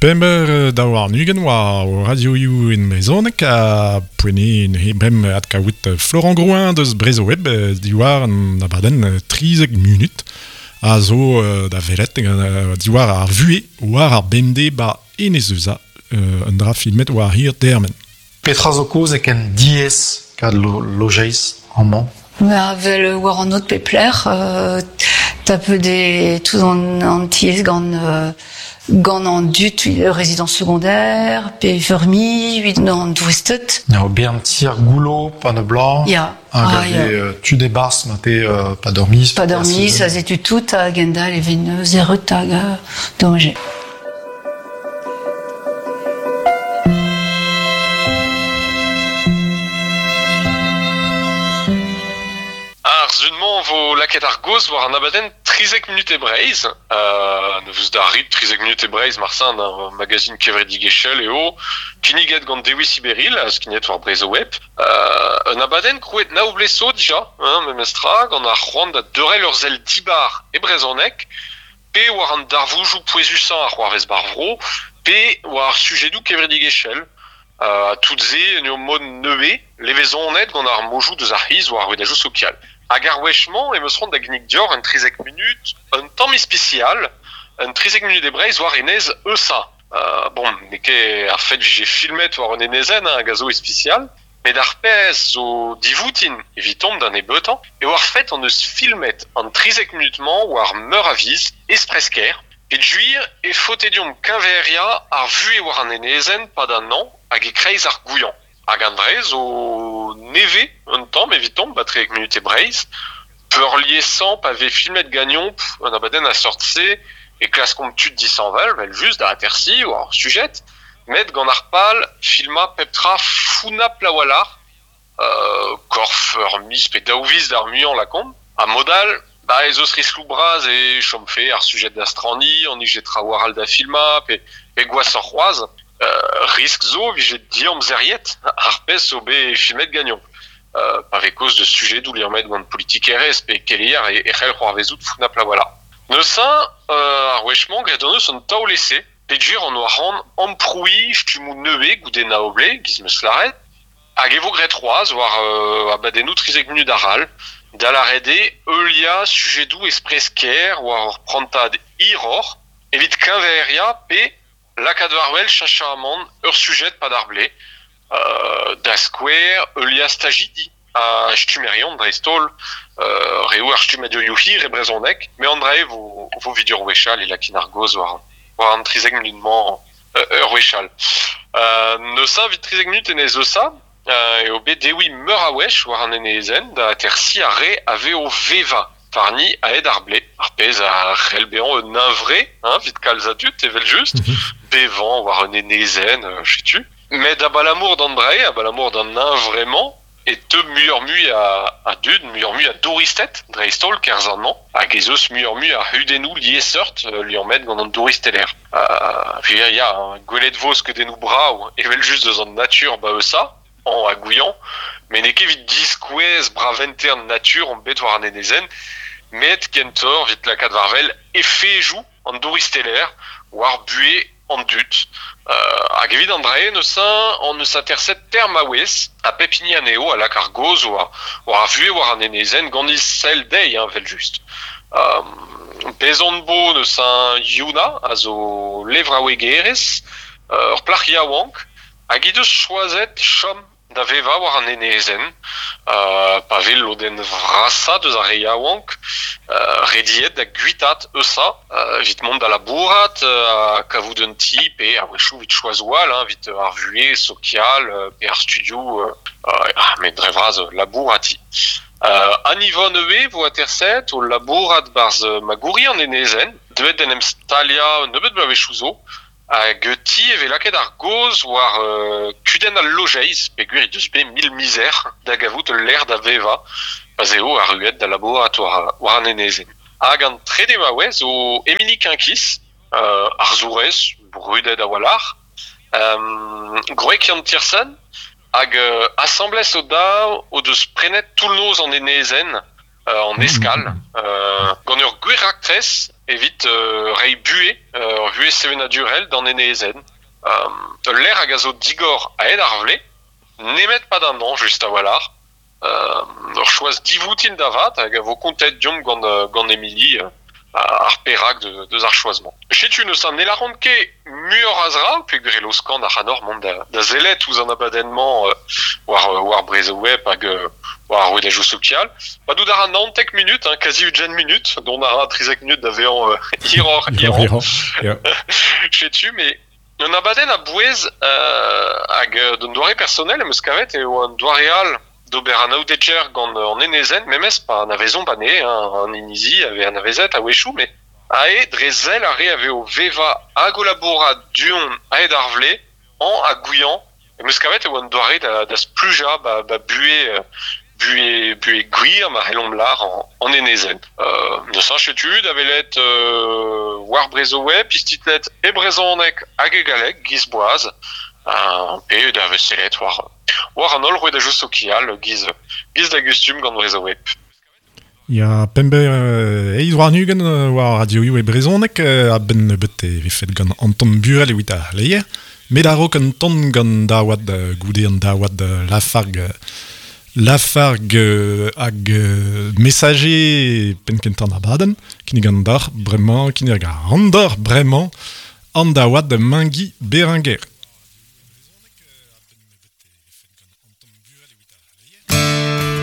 Pember 22 war o radioioù en brezhoneg ha poent eo neuze brem adkaout Florent Grouin deus Brezhoweb diwar an abadenn 13 munut a zo da welet diwar ar vuhez war ar bemdez ba Enez Eusa un dra filmet war hir dermen. Petra zo kaoz e ken diaes kad lojeiz amañ? Ma vel war an aod pep lec'h, tapet eo tout an tiez gant gant an dud résidence secondaire pe feurmi evit an douristed. Ya, bern tier goullo, panneau blanc. Ya. Hag ah, ya. tud e-barzh ma te pa dormis. Pa dormis, a setu tout hag endal e ven zerret hag danger. Ar sun-mañ vo lakaet ar gaoz war an abadenn 13 munut e Breizh. Ne vez da rit 13 munut e Breizh marsan ar magazin kevredigezhel eo kinniget gant Dewi Siberil ha skignet war Brezhoweb. Un abadenn krouet nav blez zo dija, hein, memestra, gant ar c'hoant da deurel ur sell dibar e brezhoneg pe war an darvoudoù pouezusañ a c'hoarvez b'ar vro, pe war ar sujedoù kevredigezhel. Ha tout se en ur mod nevez, levezonet gant ar mojoù deus ar c'hiz war ar rouedajoù sokial. Hag ar wech-mañ em eus c'hoant da ginnig deoc'h un 13 munut, un tamm ispisial, un 13 munut e Breizh war enez Eusa. Bon, n'eo ket ar fed 'vije filmet war un enezenn hag a zo ispisial, met ar pezh zo divoutin evitomp da nebeutañ eo ar fed hon eus filmet an 13 munut-mañ war meur a viz, espres-kaer. Peogwir e faote deomp keñveriañ ar vuhez war an enezenn 'pad an hañv hag e-kreiz ar gouiañv. Hag an dra zo nevez un tamm evitomp ba 13 munut e Breizh. Peurliesañ pa vez filmet ganeomp un abadenn a seurt-se e klaskomp tud dishañval evel-just da atersiñ war ar sujed, met gant ar pal filmañ pep tra founnapl a-walc'h, korf ur miz pe daou viz d'ar muiañ lakaomp. Ha mod all, ba ez eus riskloù bras e chomfe ar sujed da straniñ, an ije traoù all da filmañ pe, pe gwashoc'h c'hoazh. Riskl zo 'vije diamzeriet ar pezh zo bet filmet ganeomp. Pa vez kaoz deus sujedoù liammet gant politikerezh pe keleier e c'hell c'hoarvezout founnapl a-walc'h. Neuze, ar wech-mañ, graet hon eus un taol-ese peogwir hon oa c'hoant amprouiñ stummoù nevez goude nav bloaz, 'giz 'm eus lâret, hag e vo graet c'hoazh war abadennoù 13 munut arall, da lâret eo heuliañ sujedoù espres-kaer war ur prantad hiroc'h evit keñveriañ pe Lakaat war-wel cheñchamant ur sujed 'pad ar blez, da skouer heuliañ stajidi ha stummerion dreist-holl, reoù ar stummadurioù hir e brezhoneg, met an dra-se vo vo evit ur wech all e lakin ar gaoz war war an 13 munut-mañ ur wech all. Neuze evit 13 munut enez Eusa eo bet dewiñ meur a wech war an enezenn da atersiñ ar re a vez o vevañ warni a-hed ar blez, ar pezh a c'hell bezañ un hunvre hein, evit kalz a dud evel-just, bevañ war un enezenn, setu. Met abalamour d'an dra-se, abalamour d'an hunvre-mañ, e teu muioc'h-mui a dud, muioc'h-mui a douristed, dreist-holl kerzh an hañv, hag ez eus muioc'h-mui a c'hudennoù liesseurt liammet gant an douristelezh. Ya, ya, gwelet 'vo skeudennoù brav evel-just eus an natur 'ba Eusa, hañv ha gouiañv, met n'eo ket evit diskouez bravente an natur omp bet war an enezenn, met kentoc'h evit lakaat war-wel efejoù an douristelezh war buhez an dud. Hag evit an dra-se neuze hon eus aterset teir maouez ha pep hini anezho a lak ar gaoz war ar vuhez war an enezenn gant he sell dezhi evel-just. Bez on bo neuze Yuna a zo levraouegerez, ur plac'h yaouank hag he deus choazet chom da vevañ war an enezenn pa vez lodenn vrasañ deus ar re yaouank rediet da guitaat Eusa evit mont da labourat ha kavout un ti pe a-wechoù evit choazoù all evit ar vuhez sokial pe ar studioù met dre vras labourat. An Yvonne ivez 'vo aterset o labourat 'barzh magouri an enezenn deuet d'en em staliañ un nebeud bloavezhioù zo. Hag ti e vez lakaet ar gaoz war kudenn al lojeiz peogwir he deus bet mil mizer da gavout ul lec'h da vevañ pa'z eo arruet da labourat war an enezenn. Hag an trede maouez zo Emilie Quinquis, arzourez brudet a-walc'h, gwreg Yann Tiersen, hag asambles o-daou o deus prenet toull-noz an enezenn an eskal gant ur gwir raktres evit reiñ buhez ur vuhez sevenadurel d'an enezenn. Ul lec'h hag a zo digor a-hed ar vle, nemet pad an hañv just a-walc'h. Ur choaz divoutin da vat hag a vo kontet deomp gant gant Emilie ar perak deus ar choaz-mañ. Setu neuze ne lâran ket muioc'h a zra peogwir e laoskan ac'hanoc'h mont da, da sellet ouzh an abadenn-mañ war, war Brezhoweb hag war ar rouedadoù sokial. Padout a ra 19 minut, hein, kazi 20 minut, dont a ra 13 minut da vezañ hiroc'h hirañ. Setu, mais un abadenn a-bouez hag d'un doare personnel em eus kavet eo un doare all d'ober anaoudegezh gant an enezenn memes pa anavezomp anezhe, hein, an inizi a vez anavezet a-wechoù, met ae dre sell ar re a vez o vevañ hag o labourat du-hont a-hed ar vlez, hañv ha gouiañv, em eus kavet e oa un doare da, da splujañ ba, ba buhez, buhez, buhez gwir ma c'hellomp lâr an enezenn. Neuze setu da welet war Brezhoweb, istitlet e brezhoneg hag e galleg, giz boaz, pe da sellet war war an holl rouedadoù sokial giz, giz da gustum gant Brezhoweb. Ya, pemp eizh warn-ugent war radioioù e brezhoneg, a-benn nebeut e vefet gant Anton Burel evit ar c'hleier, met a-raok un ton gant daouad goude an daouad Lafargue Lafargue hag Messager penn-kentañ an abadenn, kinnig an deoc'h bremañ, kinnig a ran deoc'h bremañ an daouad Mengi Berenguer.